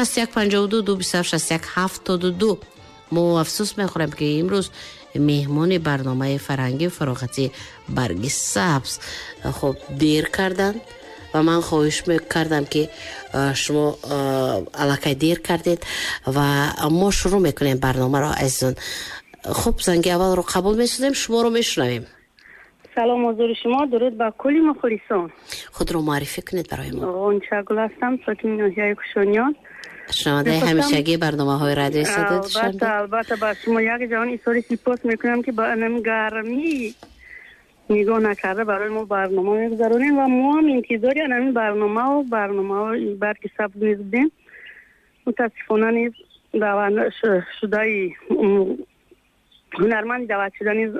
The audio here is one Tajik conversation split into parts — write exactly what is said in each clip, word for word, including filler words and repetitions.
шасту як панҷоҳу ду, ду бисту ҳафт, шасту як ҳафтоду ду. Мо афсӯс мехӯрем, ки имрӯз меҳмони барномаи фарҳангию фароғатии Барги сабз хуб дер карданд ва ман хоҳиш мекардам, ки шумо аллакай дер кардед ва мо шурӯъ мекунем барномаро. Азизон, хуб, занги аввалро қабул месозем, шуморо мешунавем. Салом ҳузури шумо, дуруд ба кулли мухлисон. Худро муаррифӣ кунед барои мо. Ғунчагул ҳастам, сокини ноҳияи Кушониён. Шунавандаи ҳамешагии барномаҳои радиои Садои Душанбе. Албатта, албатта, ба шумо як ҷаҳон изҳори сипос мекунам, ки ба ин гармӣ нигоҳ накарда барои мо барнома мегузаронем ва мо ҳам интизори ҳамин барномаву барномаҳои Барги сабз низ будем. Мутаассифона, низ даъват шудаи ҳунарманди даъватшуда низ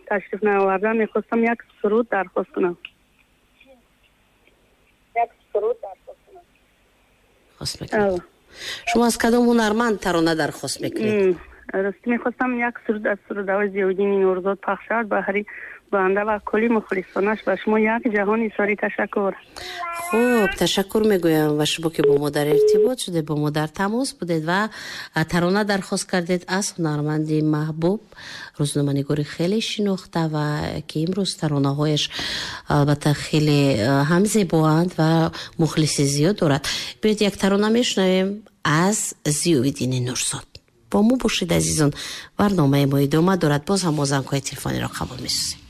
ташриф наовардан. Мехостам як суруд дархост кунам, як суруд дархост кунам. Хост мекунед. Шумо аз кадом ҳунарманд тарона дархост мекунед? Рости, мехостам як суруд аз сурудҳои Зиёиддини Нурзод пахш шавад баҳри банда ва кулли мухлисонаш. Ба шумо як ҷаҳон изҳори ташаккур. Хуб, ташаккур мегӯям ва шумо, ки бо мо дар иртибот шудед, бо мо дар тамос будед ва тарона дархост кардед аз ҳунарманди маҳбуб, рӯзноманигори хеле шинохта ва ки имрӯз таронаҳояш албатта хеле ҳам зебоанд ва мухлиси зиёд дорад. Биёед, як тарона мешунавем аз Зиёиддини Нурзод. Бо мо бошед, азизон, барномаи мо идома дорад. Боз ҳам мо зангҳои телефониро қабул месозем.